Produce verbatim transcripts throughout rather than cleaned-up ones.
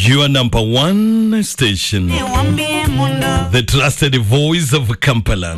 Your number one station, the trusted voice of Kampala.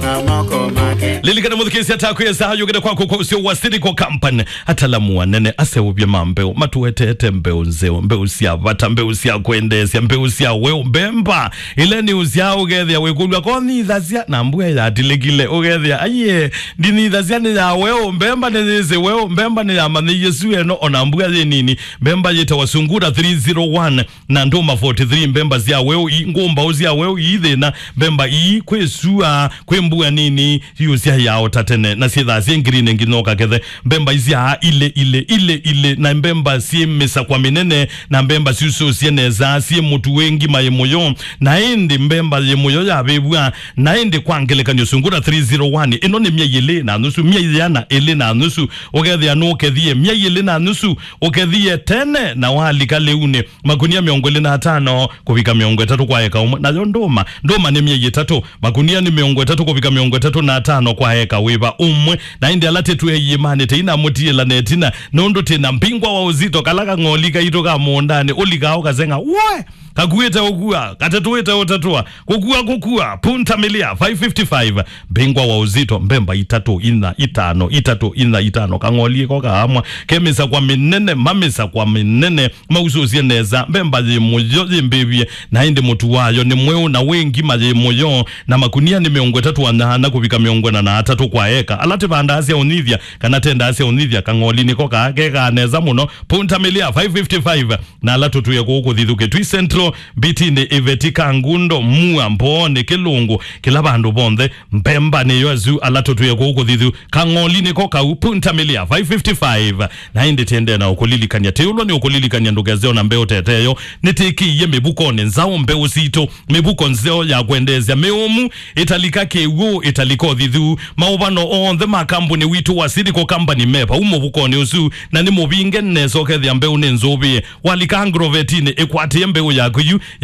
Lilikana mũthikĩĩsya takwĩsa yũkĩte kwaku kwa ũsio wa Siriko Company. Atalamu anene aseũvye ma mbeũ, matuetete mbeũ nzeo, mbeũ sya vata, mbeũ sya kwendeesya, mbeũ sya weũ, mbemba ila nĩ ũsya ũkethĩa wĩkũlw'a ko nithasya na mbua yatilĩkile ũkethĩa aiye ndinithasya nĩ ya weũ, mbemba nĩ yĩsĩ weũ, mbemba nĩ yamanyĩie su eno ona mbua yĩ nini, mbemba yĩtawa Sungura three zero one na ndũma forty three, mbemba sya weũ ii, ngũmbaũ sya weũ ii thĩna, mbemba ii kwĩ sua, kwĩ mbua nini, siũsya yao ta tene, na syĩthaa syĩ ngirini nginya ũkakethe. Mbemba isyaa ilĩ, ilĩ, ilĩ, ilĩ, na mbemba syĩ mĩsakwa mĩnene, na mbemba syusũsye nesa, syĩ mũtu wĩ ngima yĩ mũyo, na ĩndĩ mbemba yĩ mũyo yavĩvw'a, na ĩndĩ kwa ngelekany'o Sungura three zero one, ĩno nĩ myei ĩlĩ na nusu, myei yĩana ĩlĩ na nusu, ũkethĩa nũkethie myei ĩlĩ na nusu, ũkethie tene, na walika lĩunĩ, makunia mĩongo ĩlĩ na atano kũvika mĩongo ĩtatũ kwa eka ũmwe. Nayo ndũma, ndũma nĩ myei ĩtatũ, makunia nĩ mĩongo ĩtatũ kũvika mĩongo ĩtatũ na atano kwa eka wĩva ũmwe. Na ĩndĩ ala tĩtwĩe iĩmanĩ tĩinamũtiĩla na ĩtina, nũndũ tĩna mbingwa wa ũzito kala kang'oli kaitũ ka mũũndanĩ, ũlikaa ũkaseng'a, woe! Kakuĩte ũkua, katetũĩte ũtetũa, kũkua, kũkua, punta milia, five fifty-five, mbingwa wa ũzito, mbemba itatũ, inya, itano, itatũ, inya, itano, kang'oli ko kaamwa, ke mĩsakwa mĩnene, mamĩsakwa mĩnene, mausũsye nesa, mbemba yĩ mũyo, yĩ mbĩvye, na ĩndĩ mũtu wayo nĩ mweũ na wĩ ngima yĩ mũyo, na makunia nĩ mĩongo ĩtatũ na nyanya kũvika mĩongo ĩna na atatũ kwa eka. Ala tĩvandaa sya ũnyithya, kana tendaa sya ũnyithya, kang'oli nĩko kaa kekaa nesa mũno, punta milia, five fifty-five, na ala tũtwĩe kũu kũthithu Kitui Central, Mbitinĩ, Iveti, Kangundo, Mua, Mbooni, Kĩlũngũ, kĩla vandũ vonthe, mbemba nĩyo asu ala tũtwĩe kũu kũthithu. Kang'oli nĩko kau, punta milia, five fifty-five. Na ĩndĩ tĩendee na ũkũlilikany'a, tĩũlwa nĩ ũkũlilikany'a ndũkese ona mbeũ teteyo, nĩtĩkĩie mĩvukonĩ nzaũ mbeũ sitũ, mĩvuko nzeo ya kwendeesya mĩũmu, ĩtalika kĩw'ũ, ĩtalika ũthithu, maũvano onthe ma kambuni witũ wa Silico Company me vau mũvukonĩ ũsu, na nĩ mũvinge nesa ũkethĩa mbeũ nĩ nzũvĩe. Walika agrovetinĩ, ĩkwatĩe mbeũ yaku yu